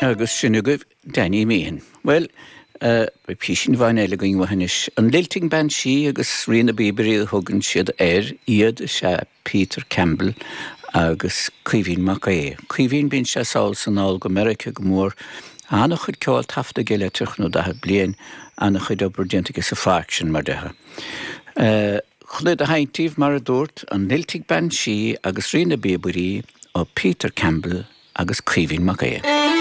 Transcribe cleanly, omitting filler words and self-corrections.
Agus sin agaibh Danny Meehan. Bhuel, beidh písín amháin eile againn uaidh anois. An Lilting Banshee agus Rí na bPíobairí a thugann siad air, iad is ea Peter Campbell agus Caoimhín Mac Aodha. Caoimhín, bíonn sé sall is anall go Meiriceá go mór. An-chuid ceoil taifeadta aige le 30 nó 40 bliain, an-chuid obair déanta aige sa pháirc sin, mar déarfá. Chun iad a sheinnt daoibh, mar a dúrt, an Lilting Banshee agus Rí na bPíobairí ó Peter Campbell agus Caoimhín Mac Aodha.